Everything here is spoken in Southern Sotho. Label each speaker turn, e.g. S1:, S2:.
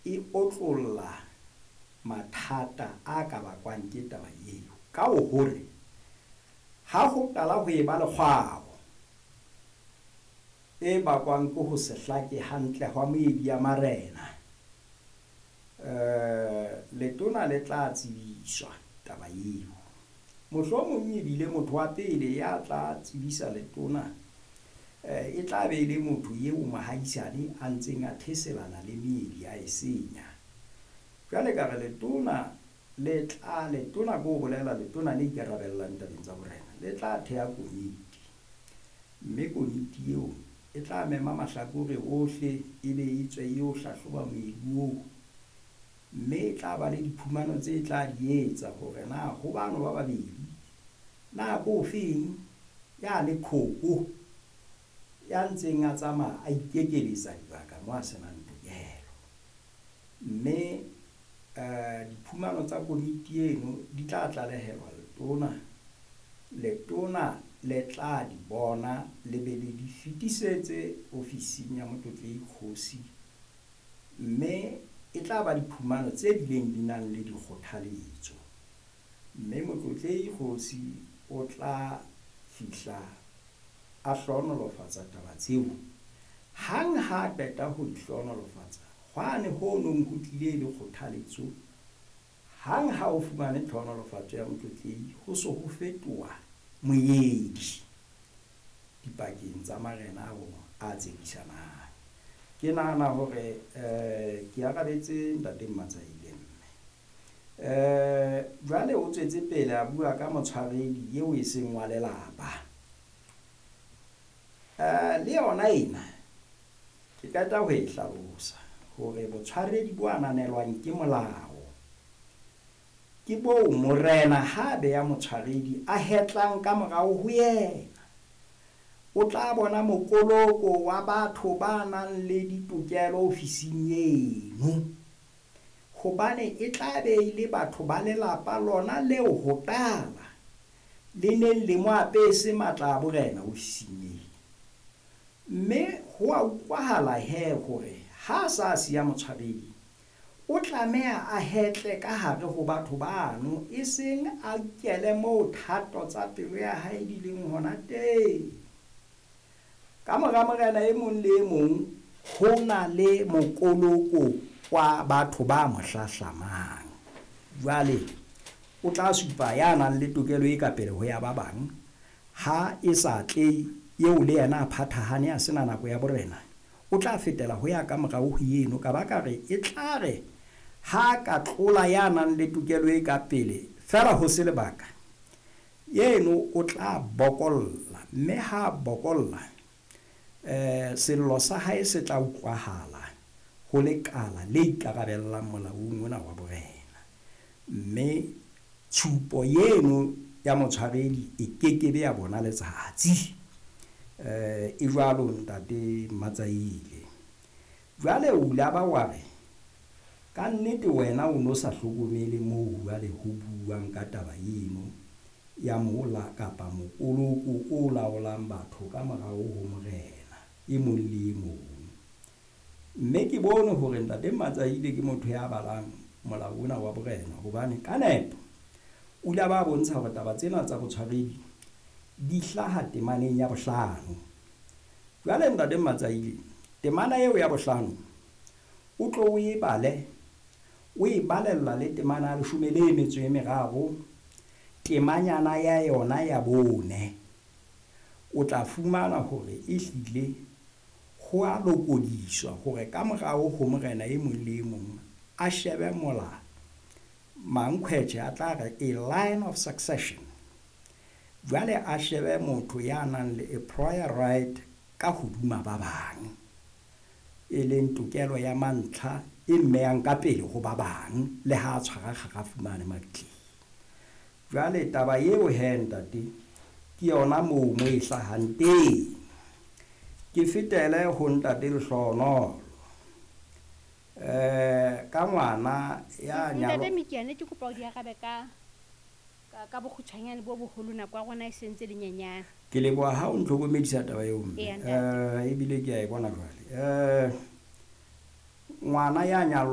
S1: e otlolla mathata a ka bakwang ke taba eo. Ka hore ha ho qala ho eba le kgwao e bakwang ke ho se hlake hantle hwa moedi ya marena, letona le tla tsebiswa taba eo. Mohlomong ebile motho wa pele ya tla tsebisa letona e tla be e le motho eo mohaisane a ntseng a theselana le meedi a e senya. Jwale ka re letona le tla, letona ko bolela letona le ikarabellang tabeng tsa borena, le tla theha komiti. Mme komiti eo e tla mema mahlakore ohle, ebe e tswe e yo hlahloba moedi oo. Mme e tla ba le diphumano tse tla di etsa hore na ho bano ba babedi, na ko ofeng ya le khopo ya ntseng a tsamaya a ikekeletsa dibaka mo a senang tokelo. Mme diphumano tsa komiti eno di tla tlalehelwa letona. Letona le tla di bona le be le di fetisetse ofising ya Motlotlehi Kgosi, mme e tla ba diphumano tse bileng di nang le dikgothaletso. Mme Motlotlehi Kgosi o tla fihla a hlohonolofatsa taba tseo. Hang ha qeta ho di hlohonolofatsa, hwane ho nong ho tlile le kgothaletso, hang ha o fumane tlhohonolofatso ya Motlotlehi, ho so ho fetoha moedi dipakeng tsa marena ao a tsekisanang. Ke nahana hore ke arabetse ntate Mmatsaile mme. Jwale o tswetse pele a bua ka motshwaredi eo e seng wa lelapa. Le yona ena ke qeta ho e hlalosa hore botshwaredi bo ananelwang ke molao ke boo morena ha beya motshwaredi a hetlang ka morao ho yena. O tla bona mokoloko wa batho ba nang le ditokelo ofising eno, hobane e tla be e le batho ba lelapa lona leo ho qala le neng le mo apese matla a borena ofising eno. Mme ho a utlwahala he hore ha sa siya motshwaredi, o tlameha a hetle ka hare ho batho bano, e seng a kele moo thato tsa pelo ya hae di leng hona teng. Ka mora morena e mong le e mong ho na le mokoloko wa batho ba mo hlahlamang. Jwale o tla supa ya nang le tokelo e ka pele ho ya ba bang, ha e sa tle eo le yena a phathahane a sena nako ya borena, o tla fetela ho ya ka morao ho eno, ka ba ka re e tla re ha ka tlola ya nang le tokelo e ka pele fela ho se lebaka, eno o tla bokolla, mme ha bokolla sello sa hae se tla utlwahala ho lekala le ikarabellang molaong ona wa borena. Mme tshupo eno ya motshwaredi e kekebe ya bona letsatsi. E jwalo ntate Mmatsaile. Jwale o ile ba wa re ka nnete wena o no sa hlokomele moo jwale ho buang ka taba eno ya mola kapa mokoloko o laolang batho ka morao ho morena e mong le e mong. Mme ke bone hore ntate Mmatsaile ke motho ya balang molao ona wa borena, hobane ka nepo o ile ba bontsha hore taba tsena tsa botshwaredi di hlaha temaneng ya bohlano. Jwale ntate Mmatsaile, temana eo ya bohlano o tlo o e bale, o e balella le temana ya leshome le metso e meraro, temanyana ya yona ya bone, o tla fumana hore e hlile ho a lokodiswa hore ka morao ho morena e mong le e mong a shebe mola mankhwetjhe a tla re a line of succession. Jwale a shebe motho ya nang le a prior right ka hodima ba bang, e leng tokelo ya mantlha e mmeyang ka pele ho ba bang le ha a tshwara kgarafu mane mabitleng. Jwale taba eo he ntate ke yona moo mo e hlahang teng. Ke fetele ho ntate Lehlohonolo. Ka ngwana ya nyalo.
S2: Ntate Mikiane, ke kopa o di arabe ka bokgutshwanyane bo boholo, nako ya rona e sentse le nyenyane.
S1: Ke leboha ha o ntlhokomedisa taba eo mme.
S2: Eya, ntate.
S1: Ebile ke a e bona jwale. Ngwana ya nyalwang